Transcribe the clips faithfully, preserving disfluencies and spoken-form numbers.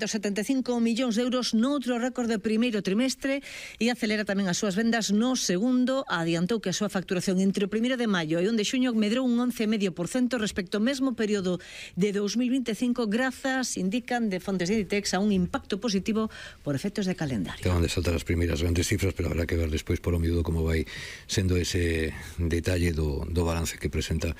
setenta e cinco millóns de euros noutro récord de primeiro trimestre e acelera tamén as súas vendas no segundo. Adiantou que a súa facturación entre o primeiro de maio e o de xuño medrou un once vírgula cinco por cento respecto ao mesmo período de dos mil vinte e cinco, grazas, indican de fontes de Inditex, a un impacto positivo por efectos de calendario. Acaban de saltar as primeiras grandes cifras, pero habrá que ver despois polo miúdo como vai sendo ese detalle do, do balance que presenta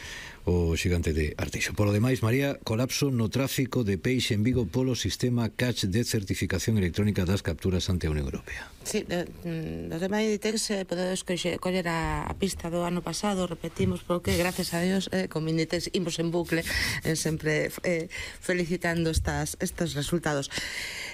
o xigante de Arteixo. Polo demais, María, colapso no tráfico de peixe en Vigo polo sistema Catch de certificación electrónica das capturas ante a Unión Europea. Sí, no tema de Inditex eh, podedes coller a, a pista do ano pasado, repetimos, porque gracias a Dios eh, con Inditex imos en bucle eh, sempre eh, felicitando estas, estes resultados.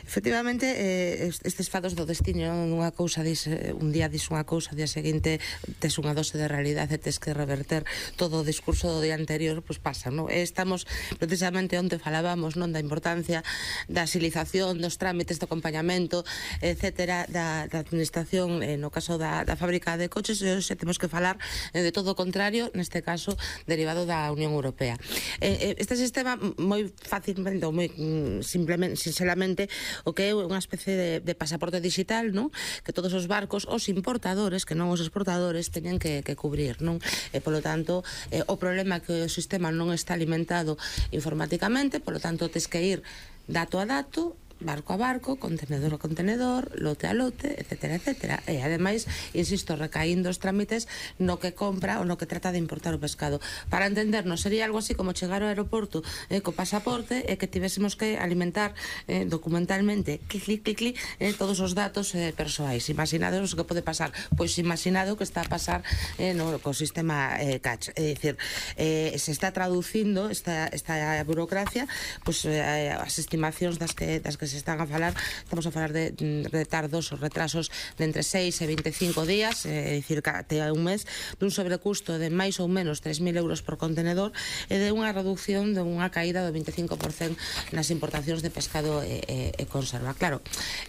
Efectivamente, eh, estes fados do destino, unha cousa dis, un día dis unha cousa, o día seguinte tes unha dose de realidade e tes que reverter todo o discurso do día anterior, pois pues pasa, non? Estamos precisamente onde falábamos, non, da importancia da agilización dos trámites de acompañamento, etcétera, da, da administración, eh, no caso da, da fábrica de coches, e hoxe temos que falar eh, de todo o contrario, neste caso derivado da Unión Europea. Eh, este sistema moi fácilmente, ou moi simplemente, sinceramente, o que é unha especie de, de pasaporte digital, non? Que todos os barcos, os importadores, que non os exportadores, teñen que, que cubrir, non? E, polo tanto, eh, o problema é que o sistema non está alimentado informáticamente, polo tanto, tes que ir dato a dato, barco a barco, contenedor a contenedor, lote a lote, etcétera, etcétera. E, ademais, insisto, recaíndo os trámites no que compra ou no que trata de importar o pescado. Para entendernos, sería algo así como chegar ao aeroporto eh, co pasaporte e que tivésemos que alimentar eh, documentalmente, clic, clic, clic, clic, eh, todos os datos eh, persoais. Imaginados o que pode pasar. Pois imaginado que está a pasar eh, no co sistema eh, Catch. É dicir, eh, se está traducindo esta, esta burocracia, pois eh, as estimacións das que, das que se están a falar, estamos a falar de retardos ou retrasos de entre seis e vinte e cinco días, é dicir, até un mes, dun sobrecusto de máis ou menos tres mil euros por contenedor e de unha reducción de unha caída do vinte e cinco por cento nas importacións de pescado e, e, e conserva. Claro,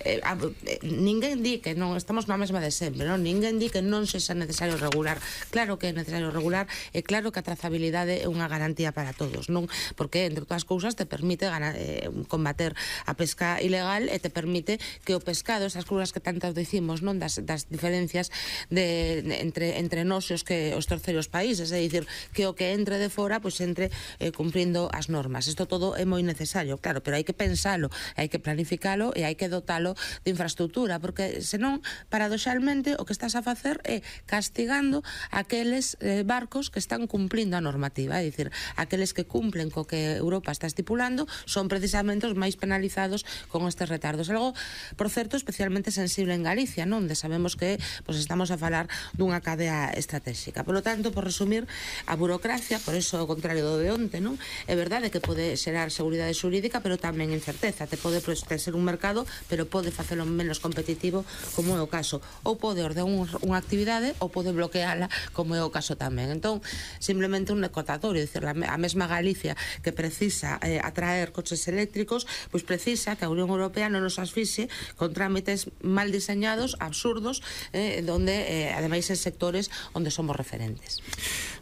eh, a, eh, ninguén di que non, estamos na mesma de sempre, non? Ninguén di que non sexa necesario regular. Claro que é necesario regular e claro que a trazabilidade é unha garantía para todos, non? Porque, entre todas as cousas, te permite ganar, eh, combater a pesca ilegal e te permite que o pescado, esas cousas que tantas dicimos, non, das, das diferencias de, de, entre, entre nós e os, que, os terceiros países, é dicir, que o que entre de fora, pois entre eh, cumprindo as normas. Isto todo é moi necesario, claro, pero hai que pensalo, hai que planificalo e hai que dotalo de infraestructura, porque senón, paradoxalmente, o que estás a facer é castigando aqueles eh, barcos que están cumplindo a normativa, é dicir, aqueles que cumplen co que Europa está estipulando son precisamente os máis penalizados con estes retardos. Algo, por certo, especialmente sensible en Galicia, non? Onde sabemos que pues, estamos a falar dunha cadea estratégica. Por lo tanto, por resumir, a burocracia, por eso o contrario do de onte, non? É verdade que pode xerar seguridade xurídica, pero tamén incerteza. Te pode pues, ser un mercado, pero pode facelo menos competitivo, como é o caso. Ou pode ordenar unha actividade, ou pode bloqueala, como é o caso tamén. Entón, simplemente un recordatorio, dicir, a mesma Galicia que precisa eh, atraer coches eléctricos, pois precisa que a Unión Europea non nos asfixie con trámites mal diseñados, absurdos, eh, donde, eh, ademais, en sectores onde somos referentes.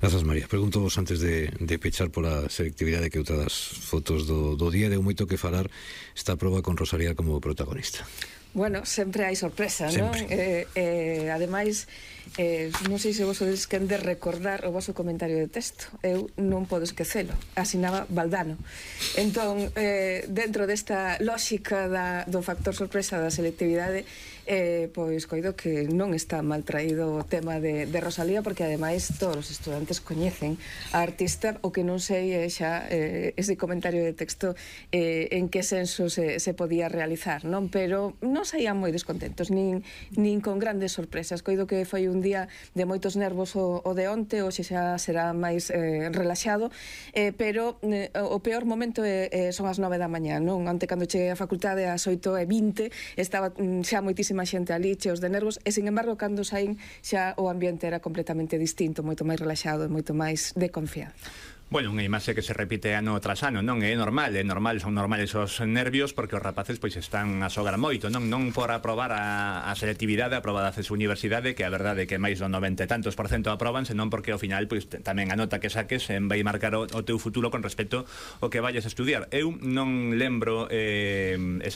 Grazas, María. Pregunto vos antes de, de pechar pola selectividade que outra das fotos do, do día, deu moito que falar esta proba con Rosalía como protagonista. Bueno, sempre hai sorpresa, non? Eh, eh, ademais, eh, non sei se vos sodes quen de recordar o vosso comentario de texto. Eu non podo esquecelo. Asinaba Valdano. Entón, eh, dentro desta lógica da, do factor sorpresa da selectividade, eh, pois coido que non está mal traído o tema de, de Rosalía, porque ademais todos os estudantes coñecen a artista, o que non sei é xa eh, ese comentario de texto eh, en que senso se, se podía realizar, non? Pero non saían moi descontentos, nin, nin con grandes sorpresas. Coido que foi un día de moitos nervos o, o de onte, hoxe xa será máis eh, relaxado, eh, pero eh, o peor momento é, eh, son as nove da mañá, non? Onte, cando cheguei á facultade ás oito e vinte, estaba mm, xa moitísima xente ali, cheos de nervos, e, sin embargo, cando saín xa o ambiente era completamente distinto, moito máis relaxado e moito máis de confianza. Bueno, unha imaxe que se repite ano tras ano, non é normal, é normal, son normales os nervios porque os rapaces pois están a xogar moito, non non por aprobar a, a selectividade aprobada a súa universidade, que a verdade é que máis do noventa e tantos por cento aproban, senón porque ao final pois tamén a nota que saques en vai marcar o, o teu futuro con respecto ao que vayas a estudiar. Eu non lembro eh, exactamente